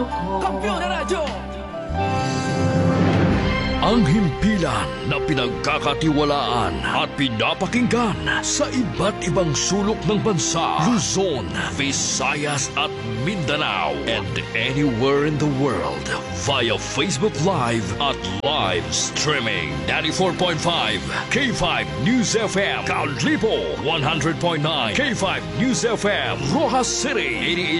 Kaayo ko. Kampiyon na radyo! Ang himpilan na pinagkakatiwalaan at pinapakinggan sa iba't ibang sulok ng bansa, Luzon, Visayas at Mindanao, and anywhere in the world via Facebook Live at live streaming. 94.5 K5 News FM, Kalibo 100.9 K5 News FM, Roxas City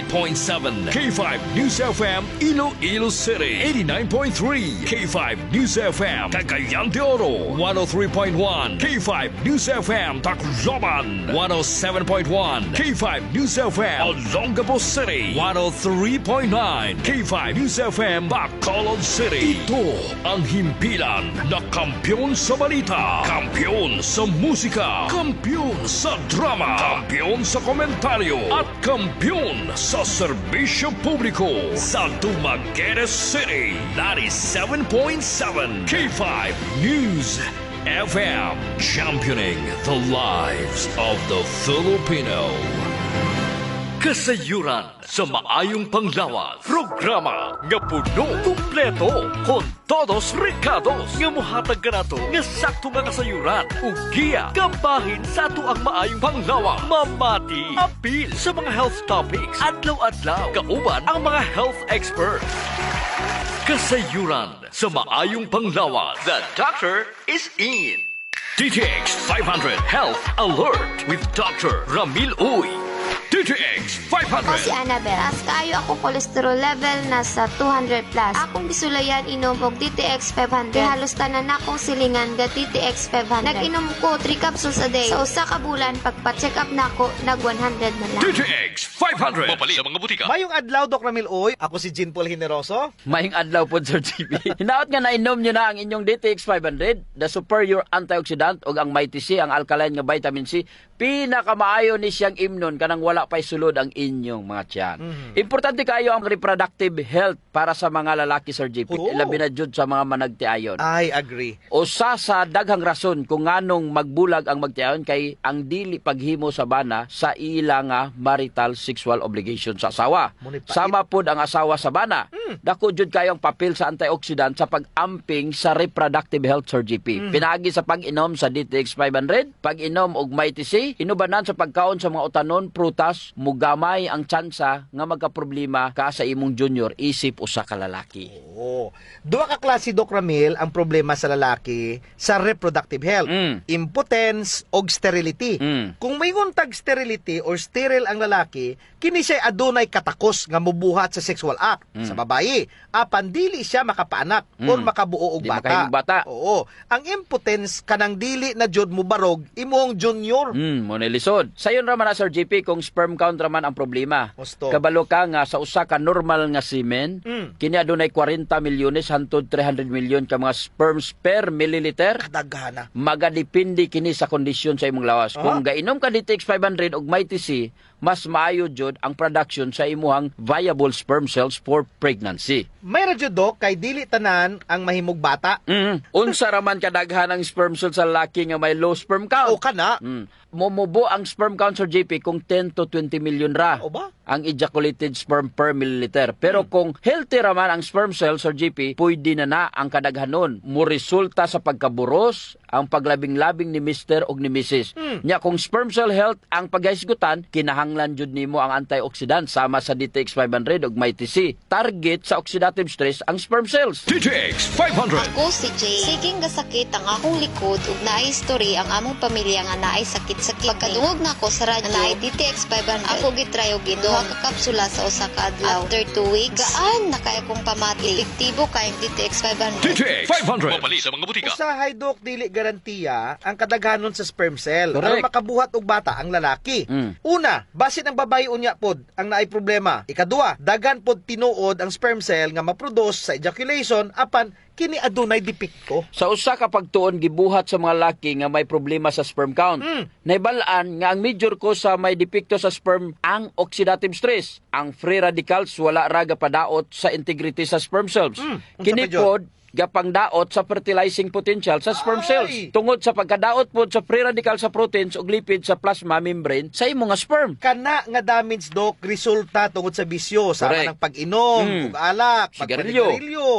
88.7 K5 News FM, Iloilo City 89.3 K5 News FM, Cagayan de Oro 103.1 K5 News FM, Tacloban 107.1 K5 News FM, Olongapo City 103.9 K5 News FM, Bacolod City. Ito ang himpilan na kampiyon sa balita, kampiyon sa musika, kampiyon sa drama, kampiyon sa komentaryo, at kampiyon sa serbisyo publiko sa Dumaguete City 97.7 K5 News FM, championing the lives of the Filipino. Kasayuran sa maayong panglawas. Programa nga puno, kumpleto, con todos recados nga muhatag kanato nga sakto nga kasayuran ug giya kabahin sa ato ang maayong panglawas. Mamati, apil sa mga health topics, adlaw-adlaw, kauban ang mga health experts. Kasayuran sa maayong panglawas. The doctor is in. DTX 500 Health Alert with Dr. Ramil Uy. DTX Ako 500. si Annabel. Taas kaayo akong cholesterol level, nasa 200 plus. Akong gisulayan inom og DTX 500. Kay halos tanan akong silingan ga DTX 500. Nag-inom ko 3 capsules a day. Sa usa ka bulan, pagpa-check up nako, nag 100 na lang. DTX 500. Mapalit sa mga butika. Mayong adlaw, Doc Ramil Uy. Ako si Jean Paul Generoso. Mayong adlaw po, Sir GB. Hinaot nga nainom nyo na ang inyong DTX 500, the superior antioxidant, ug ang Mighty C, ang alkaline nga vitamin C. Pinakamaayo ni siyang imnon kanang wala pa'y sulod ang inyong mga tiyan. Importante kayo ang reproductive health para sa mga lalaki, Sir JP. Oo. Labi na jud sa mga managtiayon. I agree. Usa sa daghang rason kung nganong magbulag ang magtiayon kay ang dili paghimo sa bana sa ila nga marital sexual obligation sa asawa. Muna pait. Sama pod ang asawa sa bana. Dako jud kayo ang papel sa antioxidant sa pag-amping sa reproductive health, Sir GP. Pinaagi sa pag-inom sa DTX 500, pag-inom og Mighty C, inubanan sa pagkaon sa mga utanon, prutas, mugamay ang tsansa nga magkaproblema ka sa imong junior isip usa ka lalaki. Oo. Duha ka klase, Doc Ramil, ang problema sa lalaki sa reproductive health. Impotence og sterility. Kung may tag sterility or sterile ang lalaki, kini siya adunay katakos nga mubuhat sa sexual act sa babae. Apan dili siya makapaanak or makabuo og Di bata. makahimog bata. Oo. Ang impotence, kanang dili na jud mubarog imong junior. Mo na lisod. Sayon ra man na, Sir JP, kung sperm count ra man ang problema. Husto. Kabalo ka nga sa usa ka normal nga semen, kini adunay 40 milyones hantod 300 milyon ka mga sperms per milliliter. Kadaghana. Magadepende kini sa kondisyon sa imong lawas. Kung gainom ka DTX 500 ug Mighty C, mas maayo jud ang production sa imuhang viable sperm cells for pregnancy. May ra jud, Doc, kay dili tanan ang mahimog bata. Unsa ra man kadaghan ang sperm cells sa lalaki nga may low sperm count? O kana. Momubo ang sperm count, Sir JP, kung 10 to 20 million ra O ba? ang ejaculated sperm per milliliter. Pero kung healthy ra man ang sperm cell, Sir JP, pwede na na ang kadaghanon. Mo resulta sa pagkaburos, ang paglabing-labing ni Mr. og ni Mrs. Nya kung sperm cell health ang paghisgutan, kinahanglan jud nimo ang antioxidant sama sa DTX 500 ug Mighty C. Target sa oxidative stress ang sperm cells. DTX 500. Ako si Jay. Siging gasakit ang akong likod ug naay history ang among pamilya nga naay sakit sa kidney. Pagkadungog nako sa radyo nga naay DTX 500, ako gitry og inom duha ka kapsula sa usa ka adlaw. After 2 weeks, gaan na kaayo kong pamati. Epektibo kayong DTX 500. DTX 500. Mapalit sa mga butika. Usahay, Dok, dili garantiya ang kadaghanon sa sperm cell. Correct. Aron makabuhat og bata ang lalaki. Una, basin ang babae unya pod ang naay problema. Ikadua, daghan pod tinuod ang sperm cell nga ma-produce sa ejaculation apan kini adunay depekto. Sa usa ka pagtuon gibuhat sa mga laki nga may problema sa sperm count. Nahibalaan nga ang major cause sa may depekto sa sperm ang oxidative stress. Ang free radicals wala ra padaot sa integrity sa sperm cells. Unsa Kini pa jud? pod Gapangdaot sa fertilizing potential sa sperm cells. Tungod sa pagkadaot pod sa free radical sa proteins ug lipids sa plasma membrane sa imong nga sperm. Kana nga damage, Dok, resulta tungod sa bisyo sa ng pag-inom ug alak, sigarilyo. Pagpanigarilyo,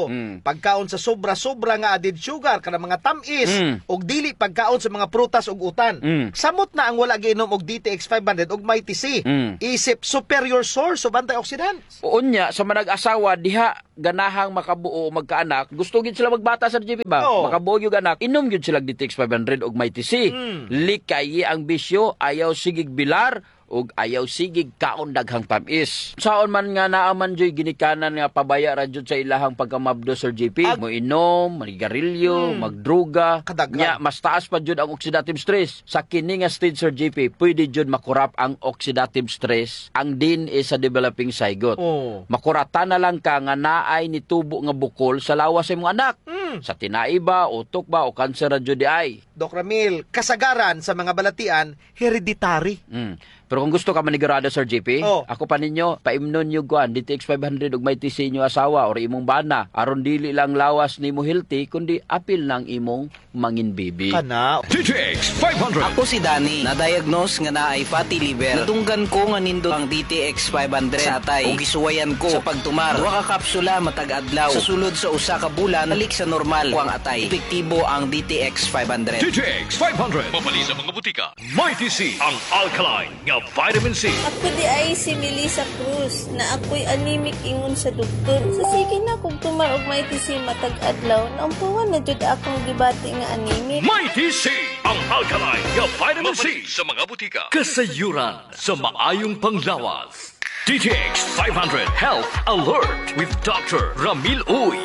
pagkaon sa sobra-sobra nga added sugar, kanang mga tam-is, ug dili pagkaon sa mga prutas ug utan. Samot na ang wala giinom og DTX 500 ug Mighty C. Isip superior source of antioxidants. Unya sa manag-asawa diha ganahang makabuo o magkaanak, gusto gid sila magbata, Sir JP ba? Oo. Makabuo yung anak, inom gyud sila DTX 500 ug Mighty C. Likayi ang bisyo, ayaw sigig bilar ug ayaw sigig kaon daghang tamis. Saon man nga naa man joy ginikanan nga pabaya ra jud sa ilahang pagkamabdo, Sir JP. Mo inom, manigarilyo, magdruga. Kadaghan. Nya mas taas pa jud ang oxidative stress. Sa kini nga stage, Sir JP, pwede jud makurap ang oxidative stress ang DNA sa developing zygote. Makurata na lang ka nga naay nitubo nga bukol sa lawas sa imong anak. Sa tinai ba, utok ba, o kanser ra jud di ay. Doc Ramil, kasagaran sa mga balatian, hereditary. Pero kung gusto ka manigurado, Sir JP, ako pa ninyo, paimnon nyo kuan, DTX 500 ug Mighty C inyo asawa or imong bana, aron dili lang lawas nimo healthy, kundi apil ng imong mangin baby. Kana. DTX 500. Ako si Danny, na-diagnose nga naay fatty liver. Nadunggan ko nga nindot ang DTX 500 sa atay ug gisuwayan ko sa pagtumar. Duha ka kapsula matag adlaw. Sa sulod sa usa ka bulan, balik sa normal ko ang atay. Epektibo ang DTX 500. DTX 500. Mabali sa mga butika. Mighty C, ang alkaline nga vitamin C. Ako di ay si Melissa Cruz na ako'y anemic ingon sa doktor. Sa sige na kung tumar og Mighty C matag adlaw, naumpuan na jud akong gibati nga anemic. Mighty C, ang alkaline nga vitamin C sa mga butika. Kasayuran sa maayong panglawas. DTX 500 Health Alert with Dr. Ramil Uy.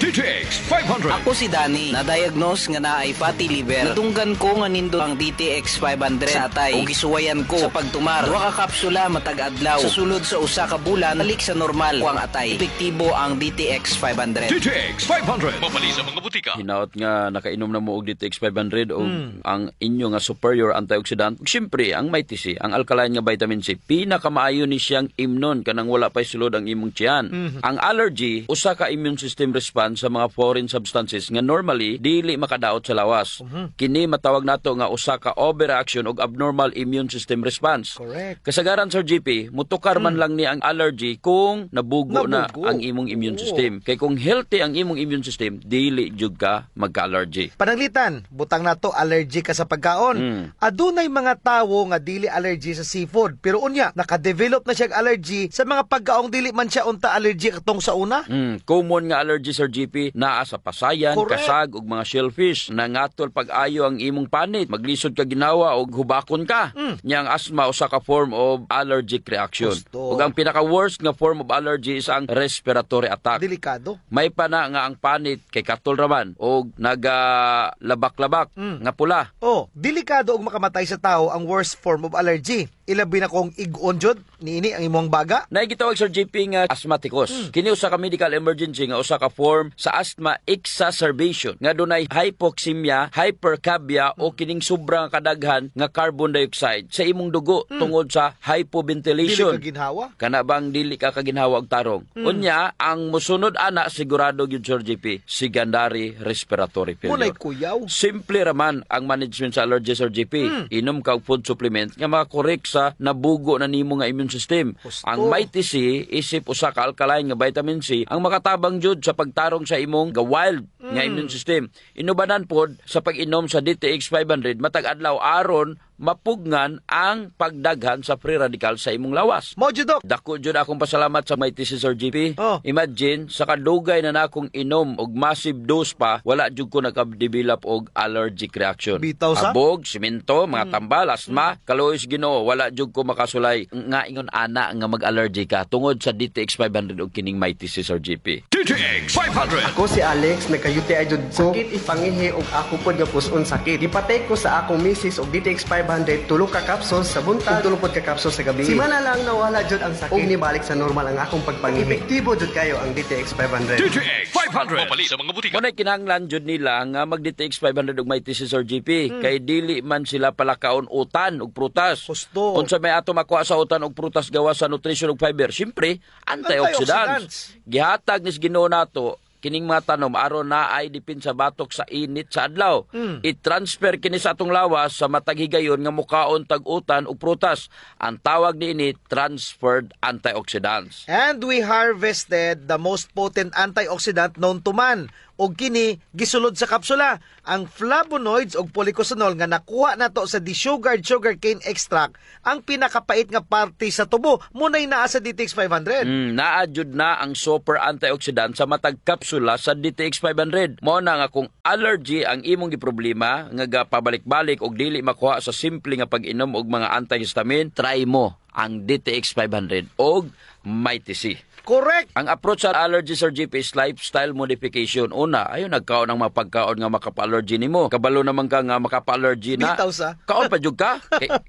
DTX 500. Ako si Danny, na-diagnose nga naay fatty liver. Nadunggan ko nga nindot ang DTX 500 sa atay ug gisuwayan ko sa pagtumar. Duha ka kapsula matag adlaw. Sa sulod sa usa ka bulan, balik sa normal ko ang atay. Epektibo ang DTX 500. DTX 500. Mabali sa mga butika. Hinaot nga nakainom na mo og DTX 500 og ang inyo nga superior antioxidant. Ug siyempre, ang Mighty C, ang alkaline nga vitamin C, pinakamaayo ni siyang imnon kanang wala pay sulod ang imong tiyan. Ang allergy, usa ka immune system response sa mga foreign substances nga normally dili makadaot sa lawas. Kini matawag nato nga usa ka overreaction og abnormal immune system response. Kasagaran, Sir GP, mutukar man lang ni ang allergy kung nabugo na Nabugo. ang imong immune system. Kay kung healthy ang imong immune system, dili jud ka magka-allergy. Pananglitan, butang nato allergy ka sa pagkaon. Adunay mga tawo nga dili allergy sa seafood, pero unya naka-develop na siya og allergy sa mga pagkaong dili man siya unta allergy katong sa una. Common nga allergy, Sir GP, naa sa pasayan, kasag ug mga shellfish. Nangatol pag-ayo ang imong panit, maglisod ka ginawa og hubakon ka. Nya ang asthma usa ka form of allergic reaction. Gusto. Ug ang pinaka worst nga form of allergy is ang respiratory attack. Delikado. May pa na nga ang panit kay katol raman og nagalabak-labak nga pula. Oh, delikado og makamatay sa tao ang worst form of allergy. Ilabi na kung ig-on jud niini ang imong baga. Naay gitawag, Sir JP, nga asthmaticus. Kini usa ka medical emergency nga usa ka form sa asthma exacerbation nga dunay hypoxemia, hypercarbia o kining sobrang kadaghan nga carbon dioxide sa imong dugo tungod sa hypoventilation. Dili ka ginhawa. Kana bang dili ka kaginhawa og tarong. Unya ang musunod ana sigurado gyud, Sir JP, secondary respiratory failure. Munay kuyaw. Simple raman ang management sa allergy, Sir JP. Inom ka og food supplement nga makakorek sa nabugo na nimo nga immune system. Husto. Ang Mighty C isip usa ka alkaline nga vitamin C ang makatabang jud sa pagtarong sa imong ga wild nga immune system. Inubanan pod sa pag-inom sa DTX 500 matag adlaw aron mapugngan ang pagdaghan sa free radical sa imong lawas. Mo jud, Dok. Dako jud akong pasalamat sa Mighty C, Sir GP. Imagine sa kadugay na nakong inom og massive dose pa, wala jud ko naka-develop og allergic reaction. Bitaw sa? Abog, simento, mga tambal, asthma, kaluoy sa Ginoo, wala jud ko makasulay nga ingon ana nga mag-allergy ka tungod sa DTX 500 og kining Mighty C, Sir GP. DTX 500. Ako si Alex, nagka-UTI jud ko. Sakit ipangihi og ako pod nga puson sakit. Gipatay ko sa akong misis og DTX 500, tulo ka capsules sa buntag, ug tulo pod ka capsules sa gabi. Simana lang nawala jud ang sakit. Ug nibalik sa normal ang akong pagpangihi. Epektibo jud kayo ang DTX 500. DTX 500. Mapali sa mga butika. Muna kinahanglan jud nila nga mag DTX 500 ug Mighty C, Sir GP, kay dili man sila palakaon utan ug prutas. Husto. Unsa may ato makuha sa utan ug prutas gawas sa nutrition ug fiber? Siyempre, antioxidants. Antioxidants. Gihatag ni Ginoo nato kining mga tanom aron na ay depensa batok sa init sa adlaw. I-transfer kini sa atong lawas sa matag higayon nga mukaon tag utan ug prutas. Ang tawag niini, transferred antioxidants. And we harvested the most potent antioxidant known to man. Og kini gisulod sa kapsula ang flavonoids og policosanol nga nakuha nato sa desugared sugarcane extract, ang pinakapait nga parte sa tubo, munay naa sa DTX 500. Naa jud na ang super antioxidant sa matag kapsula sa DTX 500. Mao na nga kung allergy ang imong giproblema nga gapabalik-balik og dili makuha sa simple nga pag-inom og mga antihistamine, try mo ang DTX 500 og Mighty C. Correct. Ang approach sa allergy, Sir GP, is lifestyle modification. Una, ayo nagkaon ng mga pagkaon nga makapa-allergy nimo. Kabalo naman ka nga makapa-allergy na. Bitaw sa. Kaon pa jud ka.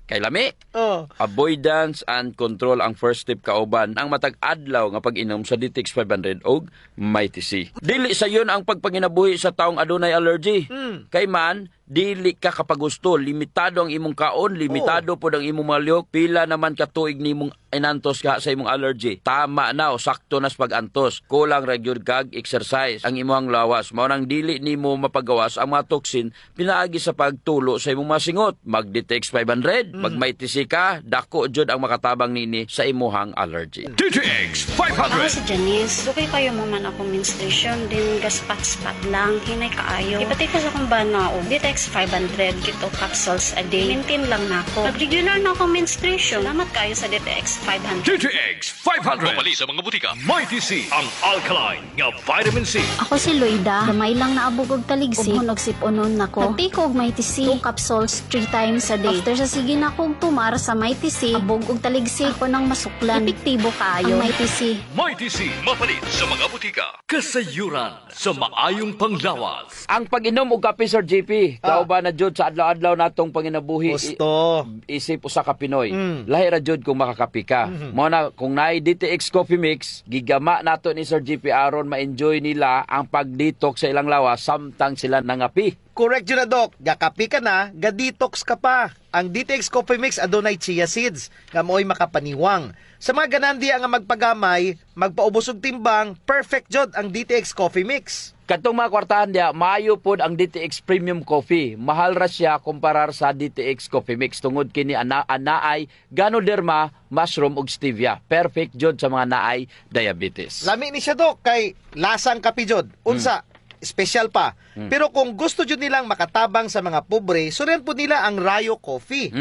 Kay lami. Avoidance and control ang first step kauban ang matag adlaw nga pag-inom sa DTX 500 og Mighty C. Dili sayon ang pagpanginabuhi sa taong adunay allergy. Kay man dili ka kapagusto, limitado ang imong kaon, limitado pod ang imong mga lihok, pila naman ka tuig nimong inantos ka sa imong allergy. Tama na o sakto na sa pag-antos. Kulang ra gyud kag exercise ang imong lawas. Mao nang dili nimo mapagawas ang mga toxin pinaagi sa pagtulo sa imong mga singot. Mag DTX 500, mag Mighty C ka, dako jud ang makatabang nini sa imuhang allergy. DTX Ako 500. si Janice. Dugay kayo mo man ako menstruation din gaspat-spat lang hinay kaayo. Ipatay ko sa akong bana og DTX 500 kito capsules a day. Maintain lang nako. Nag-regular na ako menstruation. Salamat kayo sa DTX 500. DTX 500. Mapali sa mga butika. Mighty C, ang alkaline nga vitamin C. Ako si Loida. Gamay lang naabog og taligsik. Ug sip-unon nako. Nagtake og Mighty C. 2 capsules 3 times a day. After sa sige na kog tumar sa Mighty C, abog og taligsik ko nang masuklan. Epektibo kaayo ang Mighty C. Mighty C, mapalit sa mga butika. Kasayuran sa maayong panglawas. Ang pag-inom og kape, Sir JP, kauban na jud sa adlaw-adlaw natong panginabuhi. Gusto. Isip usa ka Pinoy. Lahi ra jud kung makakape ka. Mao na kung naay DTX Coffee Mix, gigama nato ni Sir JP aron ma-enjoy nila ang pag-detox sa ilang lawas samtang sila nangapi. Correct yun na, Doc. Gakapi ka na, ga-detox ka pa. Ang DTX Coffee Mix adunay chia seeds nga mo'y makapaniwang. Sa mga ganahan diya nga magpagamay, magpaubos og timbang, perfect jud ang DTX Coffee Mix. Katong mga kwartahan diya, maayo pod ang DTX Premium Coffee. Mahal ra siya kumparar sa DTX Coffee Mix tungod kini ana anaay Ganoderma, mushroom ug stevia. Perfect jud sa mga naay diabetes. Lami ni siya, Doc, kay lasang kape jud. Unsa? Special pa. Pero kung gusto jud nilang makatabang sa mga pobre, surian po nila ang Rayo Coffee.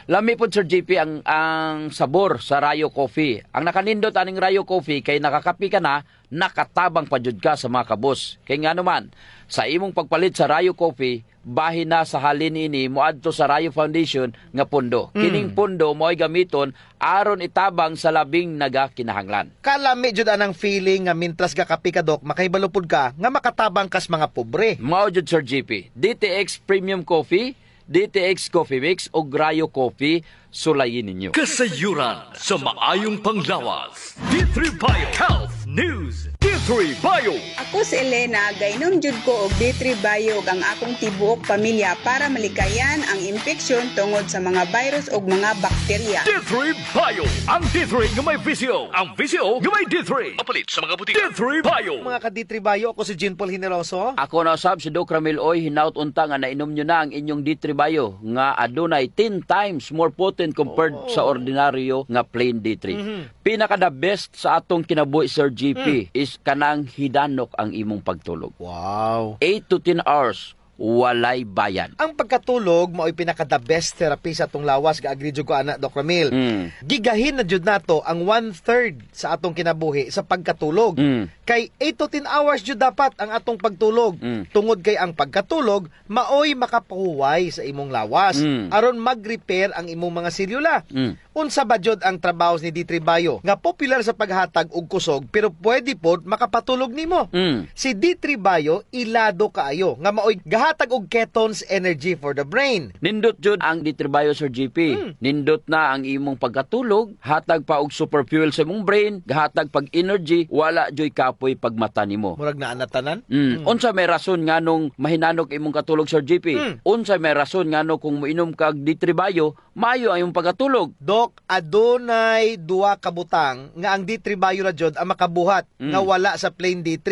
Lami pod, Sir JP, ang sabor sa Rayo Coffee. Ang nakanindot aning Rayo Coffee kay nakakapi ka na, nakatabang pa jud ka sa mga kabus. Kay nga naman, sa imong pagpalit sa Rayo Coffee, bahin na sa halin ini moadto sa Rayo Foundation nga pondo. Kining pondo mo'y gamiton aron itabang sa labing nagakinahanglan. Kalami jud anang feeling nga mintras gakapi ka, Dok, makahibalo pud ka nga makatabang kas mga pobre. Mao jud, Sir JP. DTX Premium Coffee, DTX Coffee Mix ug Rayo Coffee, sulayin ninyo. Kasayuran sa maayong panglawas. D3 Bio Health News. D3 Bio. Ako si Elena, gainom jud ko og D3 Bio ug ang akong tibuok pamilya para malikayan ang impeksyon tungod sa mga virus ug mga bakterya. D3 Bio. Ang D3 nga may VCO. Ang VCO nga may D3. Mapalit sa mga butika. D3 Bio. Mga ka-D3 Bio, ako si Jean Paul Generoso. Ako na usab si Doc Ramil Oy, hinaut unta nga nainom nyo na ang inyong D3 Bio nga adunay 10 times more potent compared sa ordinaryo nga plain D3. Pinaka the best sa atong kinabuhi, Sir GP, is kanang hidanok ang imong pagtulog. 8 to 10 hours walay bayad. Ang pagkatulog mao'y pinaka the best therapy sa atong lawas, ga-agree jud ko ana, Doc Ramil. Gigahin na jud nato ang one-third sa atong kinabuhi sa pagkatulog. Kay 8 to 10 hours jud dapat ang atong pagtulog. Tungod kay ang pagkatulog maoy makapahuway sa imong lawas aron mag-repair ang imong mga selula. Unsa ba jud ang trabaho ni D3 Bio nga popular sa paghatag og kusog pero pwede pod makapatulog nimo? Si D3 Bio ilado kaayo nga maoy gahatag Nagahatag og ketones energy for the brain. Nindot jud ang D3 Bio, Sir GP. Nindot na ang imong pagkatulog, hatag pa og super fuel sa imong brain, gahatag pag energy, wala joy kapoy pagmata nimo. Murag naa na tanan. Unsa may rason nganong mahinanok imong katulog, Sir GP? Unsa may rason ngano kung moinom kag D3 Bio, maayo ang imong pagkatulog? Dok, adunay duha ka butang nga ang D3 Bio ra jud ang makabuhat nga wala sa plain D3.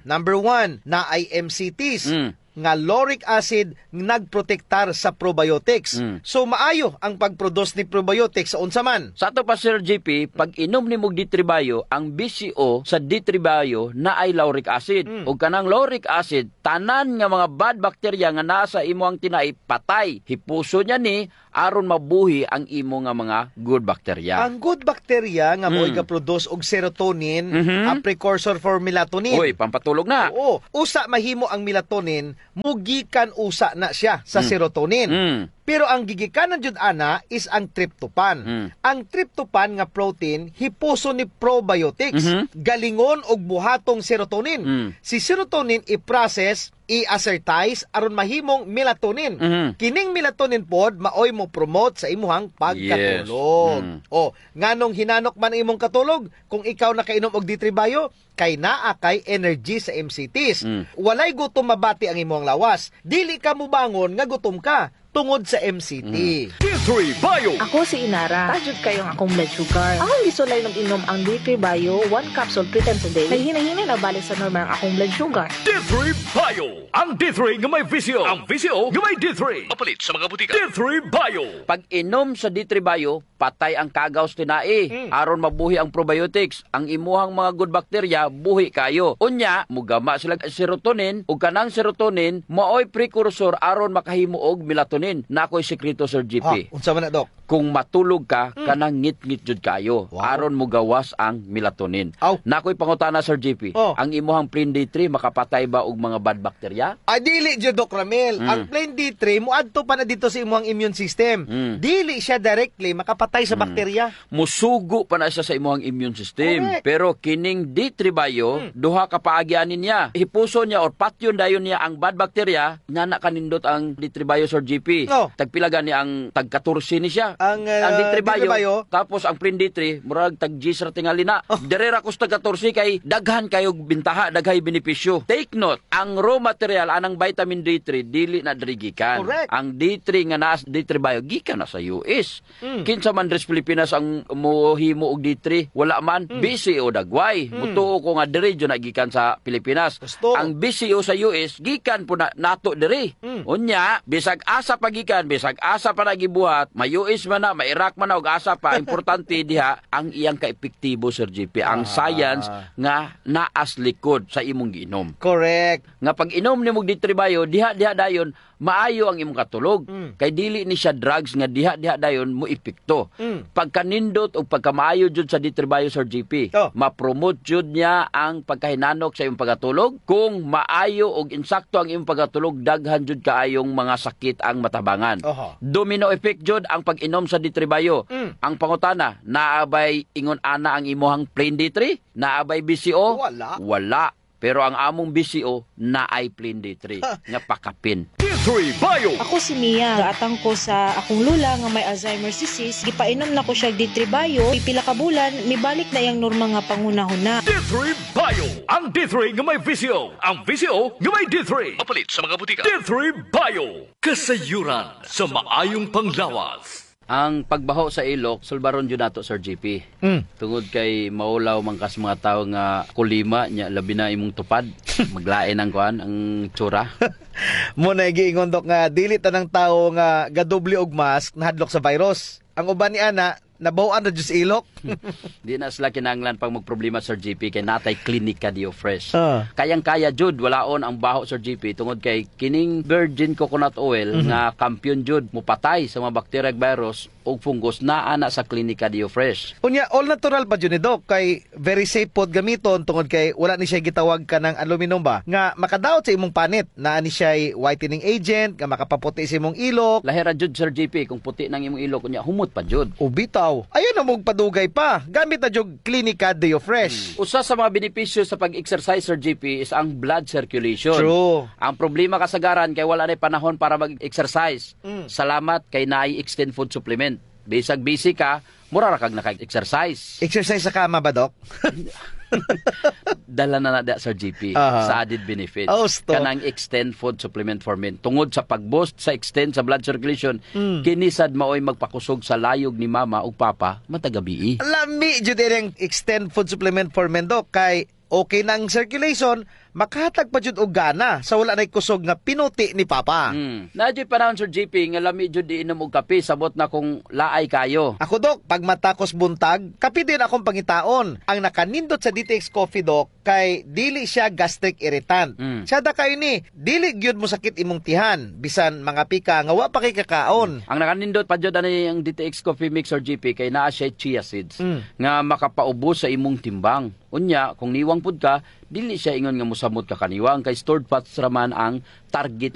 Number 1, naay MCTs. Nga lauric acid nagprotektar sa probiotics. So maayo ang pagproduce ni probiotics sa unsa man. Sa ato pa, Sir GP, pag inom nimo og D3 Bio, ang BCO sa D3 Bio naay lauric acid. Ug kanang lauric acid, tanan nga mga bad bacteria nga naa sa imo ang tinai patay. Hipuso niya ni aron mabuhi ang imo nga mga good bacteria. Ang good bacteria nga mo'y ga-produce og serotonin, a precursor for melatonin. Uy, pampatulog na. Oo. Usa mahimo ang melatonin, mugikan usa na siya sa serotonin. Pero ang gigikanan jud ana is ang tryptophan. Ang tryptophan nga protein hipuso ni probiotics. Galingon og buhatong serotonin. Si serotonin i-process, i-acertize aron mahimong melatonin. Kining melatonin pod maoy mo promote sa imuhang pagkatulog. O, nganong hinanok man ang imong katulog kung ikaw nakainom og D3 Bio, kay naa kay energy sa MCTs. Walay gutom mabati ang imong lawas. Dili ka mubangon nga gutom ka tungod sa MCT. D3 Bio. Ako si Inara. Taas jud kayong akong blood sugar. Akong gisulay ng inom ang D3 Bio, 1 capsule 3 times a day. Naghinay-hinay na balik sa normal ang akong blood sugar. D3 Bio. Ang D3 nga may VCO. Ang VCO nga may D3. Mapalit sa mga butika. D3 Bio. Pag inom sa D3 Bio, patay ang kagaw sa tinai. Aron mabuhi ang probiotics. Ang imuhang mga good bacteria, buhi kayo. Unya, mugama sila serotonin, ug kanang serotonin, maoy precursor aron makahimo og melatonin. Nakoy sekreto, Sir GP. Ha, unsa man na, Dok? Kung matulog ka, kanang ngit-ngit jud kayo. Aron mugawas ang melatonin. Aw. Nakoy pangutana, Sir GP. Oh. Ang imuhang plain D3 makapatay ba og mga bad bacteria? Ay, dili jud, Doc Ramil. Ang plain D3 muadto pa na dito sa imong immune system. Dili siya directly makapatay sa bakterya. Musugo pa na siya sa imuhang immune system. Pero kining D3 Bio, duha ka paagyanin niya. Hipuso niya or patyon dayon niya ang bad bacteria, nga na kanindot ang D3 Bio, Sir GP. No. Tagpila gani ang tag 14 ni siya. Ang Ang D3 Bio, D3 Bio. Tapos ang plain D3, murag tag G ra tingali na. Oh. Dere ra kus tag 14 kay daghan kayo bintaha, daghay benepisyo. Take note, ang raw material anang vitamin D3 dili na diri gikan. Ang D3 nga naa sa D3 Bio gikan na sa US. Kinsa man diri sa Pilipinas ang mohimo og D3? Wala man. BCO dagway. Mutuo ko nga diri jud na gikan sa Pilipinas. Gusto. Ang BCO sa US gikan po na nato diri. Unya, bisag asa pa gikan, bisag asa pa na gibuhat, may US man na, may Iraq man na og asa pa, importante diha ang iyang kaepektibo, Sir GP, ang science nga naas likod sa imong giinom. Nga pag inom nimo og D3 Bio, diha diha dayon maayo ang imong katulog. Kay dili ni siya drugs nga diha diha dayon mo epekto. Pagkanindot o pagkamaayo jud sa D3 Bio, Sir GP, ma-promote jud niya ang pagkahinanok sa imong pagkatulog. Kung maayo og insakto ang imong pagkatulog, daghan jud kaayong mga sakit ang matabangan. Domino effect jud ang pag-inom sa D3 Bio. Ang pangutana, naabay ingon ana ang imuhang plain D3? Naabay BCO? Wala. Wala. Pero ang among BCO naay plain D3 nga pakapin. D3 Bio. Ako si Mia. Gaatang ko sa akong lula nga may Alzheimer's disease. Gipainom na ko siya D3 Bio. Pipila ka bulan, mibalik na iyang normal nga panghunahuna. D3 Bio. Ang D3 nga may VCO. Ang VCO nga may D3. Mapalit sa mga butika. D3 Bio. Kasayuran sa maayong panglawas. Ang pagbaho sa ilok, sulbaron jud nato, Sir GP. Tungod kay maulaw man kas mga tao nga kulima nya, labi na imong tupad, maglain ang kuan ang tsura. Mo na giingon, Dok, nga dili tanang tao nga gadoble og mask nahadlok sa virus. Ang uban ni ana nabaw-an na jud sa ilok. Di na sila kinahanglan pang magproblema, Sir GP, kay natay Klinika Dio Fresh. Kayang-kaya jud walaon ang baho, Sir GP, tungod kay kining virgin coconut oil nga kampiyon jud mupatay sa mga bacteria, virus ug fungus naa na sa Klinika Dio Fresh. Unya, all natural pa jud ni, Dok, kay very safe pod gamiton tungod kay wala ni siya gitawag ka ng aluminum ba nga makadaot sa imong panit. Naa ni siya whitening agent nga makapaputi sa imong ilok. Lahira jud, Sir GP, kung puti nang imong ilok unya humot pa jud. O bitaw. Ayaw na mong padugay pa. Gamit na jud Klinika Deo Fresh. Usa sa mga benepisyo sa pag-exercise, Sir JP, is ang blood circulation. True. Ang problema kasagaran kay wala na panahon para mag-exercise. Salamat kay naay Extend Food Supplement. Bisag busy ka, mura ra kag naka-exercise. Exercise sa kama ba, Dok? Dala na na da, Sir JP, sa added benefits. Oh, stop. Kanang Extend Food Supplement for Men. Tungod sa pag-boost sa extend sa blood circulation, kini sad maoy magpakusog sa layog ni mama ug papa matag gabii. Lami jud ang Extend Food Supplement for Men, Dok, kay okay na ang circulation, makahatag pa jud og gana sa wala nay kusog nga pinuti ni papa. Naa juy panahon, Sir JP, nga lami jud inom og kape, sabot na kung laay kayo. Ako, Dok, pag matakos buntag, kape din akong pangitaon. Ang nakanindot sa DTX Coffee, Dok, kay dili siya gastric irritant. Tsada kayo ni, dili gyud mo sakit imong tihan, bisan mga pika nga wa pa kay kakaon. Ang nakanindot pa jud ani ang DTX Coffee Mix, Sir JP, kay naa siya chia seeds nga makapaubos sa imong timbang. Unya, kung niwang pud ka, dili siya ingon nga mosamot ka kaniwang kay stored fats raman ang target.